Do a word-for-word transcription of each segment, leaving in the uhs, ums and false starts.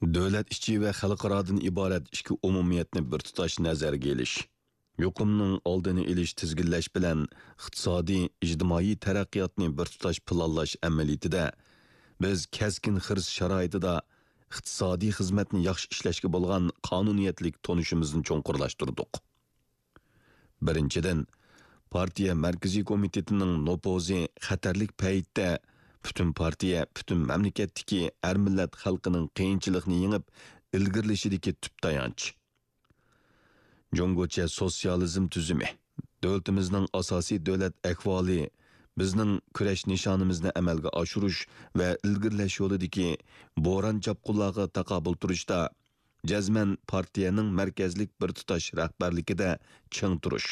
دۆلەت ئىچى ۋە خەلقئارادىن ئىبارەت ئىككى ئومۇمىيەتنى بىر تۇتاش نەزەرگە ئېلىش، يۇقۇمنىڭ ئالدىنى ئېلىش، تىزگىنلەش بىلەن ئىقتىسادىي، ئىجتىمائىي تەرەققىياتنى بىر تۇتاش پىلانلاش ئەمەلىيىتىدە بىز كەسكىن خىرىس شارائىتىدا ئىقتىسادىي خىزمەتنى ياخشى ئىشلەشكە بولغان قانۇنىيەتلىك تونۇشىمىزنى چوڭقۇرلاشتۇردۇق. بىرىنچىدىن، پارتىيە مەركىزىي كومىتېتىنىڭ نوپۇزى خەتەرلىك پەيتتە پۈتۈن پارتىيە، پۈتۈن مەملىكەتتىكى ھەر مىللەت خەلقىنىڭ قىيىنچىلىقنى يېڭىپ ئىلگىرىلىشىدىكى تۈپ تايانچ. جۇڭگوچە سوتسىيالىزم تۈزۈمى، دۆلىتىمىزنىڭ ئاساسىي دۆلەت ئەھۋالى بىزنىڭ كۈرەش نىشانىمىزنى ئەمەلگە ئاشۇرۇش ۋە ئىلگىرىلەش يولىدىكى بوران-چاپقۇنلارغا تاقابىل تۇرۇشتا جەزمەن پارتىيەنىڭ مەركەزلىك بىر تۇتاش رەھبەرلىكىدە چىڭ تۇرۇش،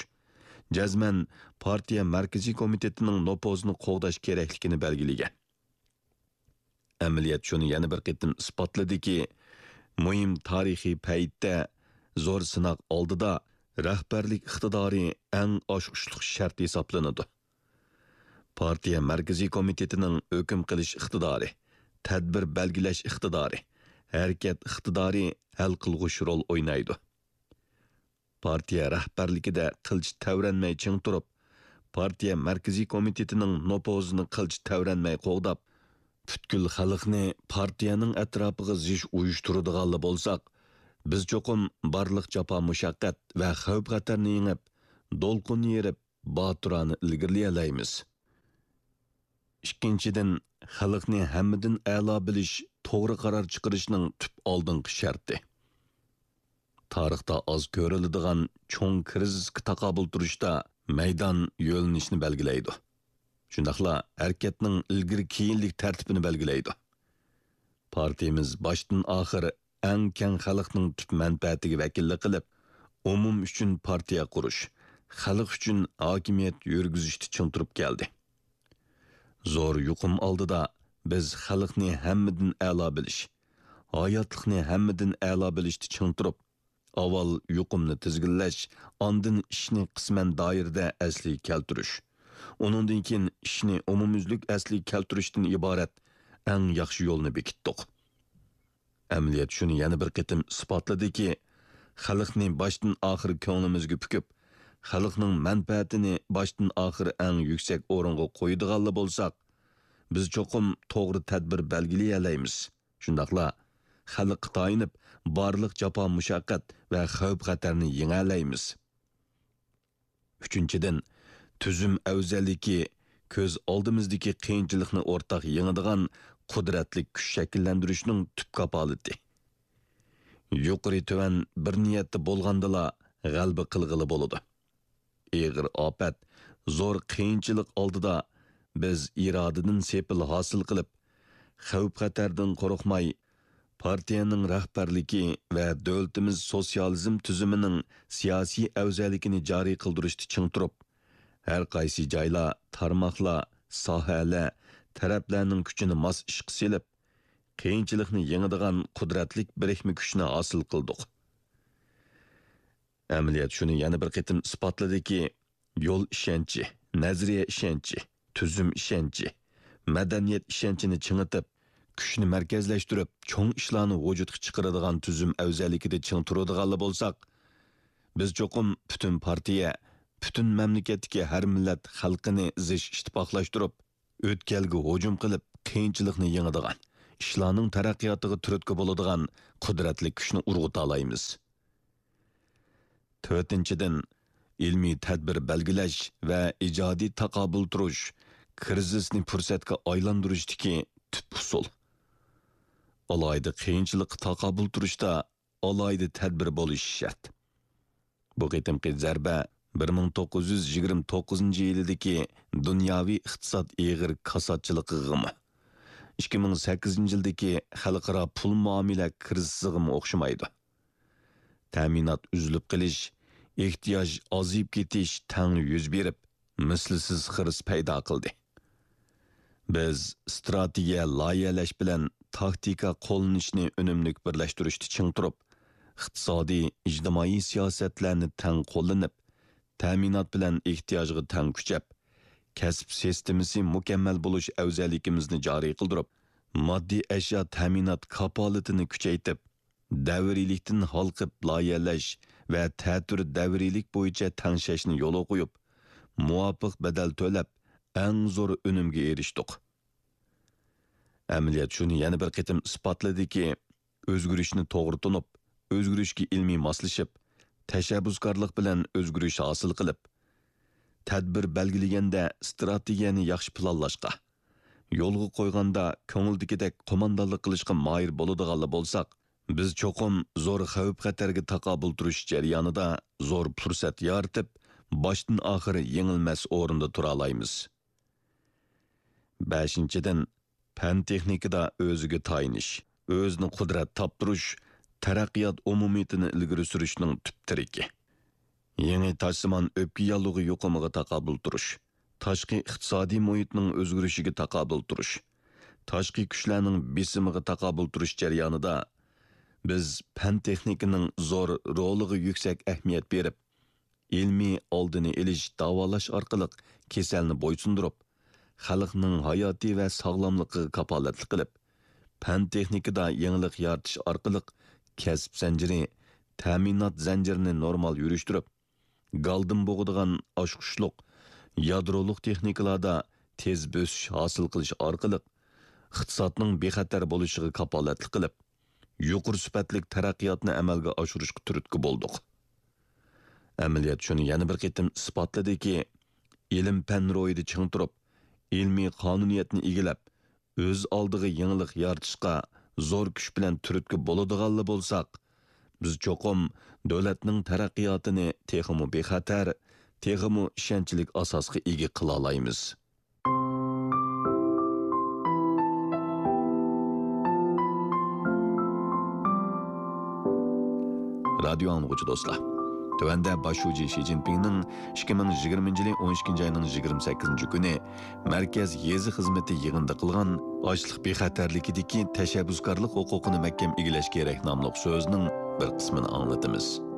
جەزمەن پارتىيە مەركىزىي كومىتېتىنىڭ نوپۇزىنى قوغداش كېرەكلىكىنى بەلگىلىگەن. ئەمەلىيەت شۇنى يەنە بىر قېتىم ئىسپاتلىدىكى، مۇھىم تارىخىي پەيتتە، زور سىناق ئالدىدا رەھبەرلىك ئىقتىدارى ئەڭ ئاچقۇچلۇق شەرت ھېسابلىنىدۇ. پارتىيە مەركىزىي كومىتېتىنىڭ ھۆكۈم قىلىش ئىقتىدارى، تەدبىر بەلگىلەش ئىقتىدارى، ھەرىكەت ئىقتىدارى ھەل قىلغۇچ رول ئوينايدۇ. پارتىيە رەھبەرلىكىدە قىلچە تەۋرەنمەي چىڭ تۇرۇپ، پارتىيە مەركىزىي كومىتېتىنىڭ نوپۇزىنى قىلچە تەۋرەنمەي قوغداپ، پۈتكۈل خەلقنى پارتىيەنىڭ ئەتراپىغا زىچ ئۇيۇشتۇرىدىغانلا بولساق، بىز چوقۇم بارلىق جاپا-مۇشەققەت ۋە خەۋپ-خەتەرنى يېڭىپ، دولقۇن يېرىپ، باتۇرانە ئىلگىرىلىيەلەيمىز. ئىككىنچىدىن، خەلقنى ھەممىدىن ئەلا بىلىش توغرا قارار چىقىرىشنىڭ تۈپ ئالدىنقى شەرتى. تارىختا ئاز كۆرۈلىدىغان چوڭ كىرىزىسقا تاقابىل تۇرۇشتا مەيدان يۆنىلىشىنى بەلگىلەيدۇ. شۇنداقلا ھەرىكەتنىڭ ئىلگىرى-كېيىنلىك تەرتىپىنى بەلگىلەيدۇ. پارتىيىمىز باشتىن-ئاخىر ئەڭ كەڭ خەلقنىڭ تۈپ مەنپەئەتىگە ۋەكىللىك قىلىپ، ئومۇم ئۈچۈن پارتىيە قۇرۇش، خەلق ئۈچۈن ھاكىمىيەت يۈرگۈزۈشتە چىڭ تۇرۇپ كەلدى. زور يۇقۇم ئالدىدا بىز خەلقنى ھەممىدىن ئەلا بىلىش، ھاياتلىقنى ھەممىدىن ئەلا بىلىشتە چىڭ تۇرۇپ، ئاۋۋال يۇقۇمنى تىزگىنلەش، ئاندىن ئىشنى قىسمەن دائىرىدە ئەسلىگە كەلتۈرۈش، ئۇنىڭدىن كېيىن ئىشنى ئومۇميۈزلۈك ئەسلىگە كەلتۈرۈشتىن ئىبارەت ئەڭ ياخشى يولنى بېكىتتۇق. ئەمەلىيەت شۇنى يەنە بىر قېتىم ئىسپاتلىدىكى، خەلقنى باشتىن-ئاخىر كۆڭلىمىزگە پۈكۈپ، خەلقنىڭ مەنپەئەتىنى باشتىن-ئاخىر ئەڭ يۈكسەك ئورۇنغا قويىدىغانلا بولساق، بىز چوقۇم توغرا تەدبىر بەلگىلىيەلەيمىز. شۇنداقلا خەلققە تايىنىپ، بارلىق جاپا-مۇشەققەت ۋە خەۋپ-خەتەرنى يېڭەلەيمىز. ئۈچىنچىدىن، تۈزۈم ئەۋزەللىكى كۆز ئالدىمىزدىكى قىيىنچىلىقنى ئورتاق يېڭىدىغان قۇدرەتلىك كۈچ شەكىللەندۈرۈشنىڭ تۈپ كاپالىتى. يۇقىرى-تۆۋەن بىر نىيەتتە بولغاندىلا، غەلىبە قىلغىلى بولىدۇ. ئېغىر ئاپەت، زور قىيىنچىلىق ئالدىدا بىز ئىرادىدىن سېپىل ھاسىل قىلىپ، خەۋپ-خەتەردىن قورقماي، پارتىيەنىڭ رەھبەرلىكى ۋە دۆلىتىمىز سوتسىيالىزم تۈزۈمىنىڭ سىياسىي ئەۋزەللىكىنى جارى قىلدۇرۇشتا چىڭ تۇرۇپ، ھەر قايسى جايلار، تارماقلار، ساھەلەر، تەرەپلەرنىڭ كۈچىنى ماس ئىشقا سېلىپ، قىيىنچىلىقنى يېڭىدىغان قۇدرەتلىك بىرىكمە كۈچنى ھاسىل قىلدۇق. ئەمەلىيەت شۇنى يەنە بىر قېتىم ئىسپاتلىدىكى، يول ئىشەنچى، نەزەرىيە ئىشەنچى، تۈزۈم ئىشەنچى، مەدەنىيەت ئىشەنچىنى چىڭىتىپ، كۈچنى مەركەزلەشتۈرۈپ، چوڭ ئىشلارنى ۋۇجۇدقا چىقىرىدىغان تۈزۈم ئەۋزەللىكىدە چىڭ تۇرىدىغانلا بولساق، بىز چوقۇم پۈتۈن پارتىيە، پۈتۈن مەملىكەتتىكى ھەر مىللەت خەلقىنى زىچ ئىتتىپاقلاشتۇرۇپ، ئۆتكەلگە ھۇجۇم قىلىپ، قىيىنچىلىقنى يېڭىدىغان، ئىشلارنىڭ تەرەققىياتىغا تۈرتكە بولىدىغان قۇدرەتلىك كۈچنى ئۇرغۇتالايمىز. تۆتىنچىدىن، ئىلمىي تەدبىر بەلگىلەش ۋە ئىجادىي تاقابىل تۇرۇش، كىرىزىسنى پۇرسەتكە ئايلاندۇرۇشتىكى تۈپ ئۇسۇل. ئالاھىدە قىيىنچىلىققا تاقابىل تۇرۇشتا ئالاھىدە تەدبىر بولۇشى شەرت. بۇ قېتىمقى زەربە بىر مىڭ توققۇز يۈز يىگىرمە توققۇزىنچى يىلىدىكى دۇنياۋى ئىقتىساد ئېغىر كاساتچىلىقىغىمۇ، ئىككى مىڭ سەككىزىنچى يىلدىكى خەلقئارا پۇل مۇئامىلە كىرىزىسىغىمۇ ئوخشىمايدۇ. تەمىنات ئۈزۈلۈپ قېلىش، ئېھتىياج ئازىيىپ كېتىش تەڭلا يۈز بېرىپ، مىسلىسىز خىرىس پەيدا قىلدى. بىز ئىستراتېگىيە لايىھەلەش بىلەن تاكتىكا قوللىنىشنى ئۈنۈملۈك بىرلەشتۈرۈشتە چىڭ تۇرۇپ، ئىقتىسادىي، ئىجتىمائىي سىياسەتلەرنى تەڭ قوللىنىپ، تەمىنات بىلەن ئېھتىياجغا تەڭ كۈچەپ، كەسىپ سىستېمىسى مۇكەممەل بولۇش ئەۋزەللىكىمىزنى جارى قىلدۇرۇپ، ماددىي ئەشيا تەمىنات كاپالىتىنى كۈچەيتىپ، دەۋرىيلىكتىن ھالقىپ لايىھەلەش ۋە تەتۈر دەۋرىيلىك بويىچە تەڭشەشنى يولغا قويۇپ، مۇۋاپىق بەدەل تۆلەپ، ئەڭ زور ئۈنۈمگە ئېرىشتۇق. ئەمەلىيەت شۇنى يەنە بىر قېتىم ئىسپاتلىدىكى، ئۆزگىرىشنى توغرا تونۇپ، ئۆزگىرىشكە ئىلمىي ماسلىشىپ، تەشەببۇسكارلىق بىلەن ئۆزگىرىش ھاسىل قىلىپ، تەدبىر بەلگىلىگەندە ئىستراتېگىيەنى ياخشى پىلانلاشقا، يولغا قويغاندا كۆڭۈلدىكىدەك قوماندانلىق قىلىشقا ماھىر بولىدىغانلا بولساق، بىز چوقۇم زور خەۋپ-خەتەرگە تاقابىل تۇرۇش جەريانىدا زور پۇرسەت يارىتىپ، باشتىن ئاخىر يېڭىلمەس ئورۇندا تۇرالايمىز. بەشىنچىدىن، پەن-تېخنىكىدا ئۆزىگە تايىنىش، ئۆزىنى قۇدرەت تاپتۇرۇش تەرەققىيات ئومۇمىيىتىنى ئىلگىرى سۈرۈشنىڭ تۈپ تىرىكى. يېڭى تاشسىمان ئۆپكە ياللۇغى يۇقۇمىغا تاقابىل تۇرۇش، تاشقى ئىقتىسادىي مۇھىتنىڭ ئۆزگىرىشىگە تاقابىل تۇرۇش، تاشقى كۈچلەرنىڭ بېسىمىغا تاقابىل تۇرۇش جەريانىدا بىز پەن-تېخنىكىنىڭ زور رولىغا يۈكسەك ئەھمىيەت بېرىپ، ئىلمىي ئالدىنى ئېلىش، داۋالاش ئارقىلىق كېسەلنى بويسۇندۇرۇپ، خەلقنىڭ ھاياتى ۋە ساغلاملىقىغا كاپالەتلىك قىلىپ، پەن-تېخنىكىدا يېڭىلىق يارىتىش ئارقىلىق كەسىپ زەنجىرى، تەمىنات زەنجىرىنى نورمال يۈرۈشتۈرۈپ، گالدىن بوغىدىغان ئاچقۇچلۇق، يادرولۇق تېخنىكىلاردا تېز بۆسۈش ھاسىل قىلىش ئارقىلىق، ئىقتىسادنىڭ بىخەتەر بولۇشىغا كاپالەتلىك قىلىپ، يۇقىرى سۈپەتلىك تەرەققىياتنى ئەمەلگە ئاشۇرۇشقا تۈرتكە بولدۇق. ئەمەلىيەت شۇنى يەنە بىر قېتىم ئىسپاتلىدىكى، ئىلىم-پەن روھىدا چىڭ تۇرۇپ، ئىلمىي قانۇنىيەتنى ئىگىلەپ، ئۆز ئالدىغا يېڭىلىق يارىتىشقا زور كۈچ بىلەن تۈرتكە بولىدىغانلا بولساق، بىز چوقۇم دۆلەتنىڭ تەرەققىياتىنى تېخىمۇ بىخەتەر، تېخىمۇ ئىشەنچلىك ئاساسقا ئىگە قىلالايمىز. رادىيو ئاڭلىغۇچى دوستلار، تۆۋەندە باش شۇجى شى جىنپىڭنىڭ ئىككى مىڭ يىگىرمىنچى يىلى ئون ئىككىنچى ئاينىڭ يىگىرمە سەككىزىنچى كۈنى مەركەز يېزا خىزمىتى يىغىنىدا قىلغان ئاشلىق بىخەتەرلىكىدىكى تەشەببۇسكارلىق ھوقۇقىنى مەھكەم ئىگىلەش كېرەك ناملىق سۆزىنىڭ بىر قىسمىنى ئاڭلىتىمىز.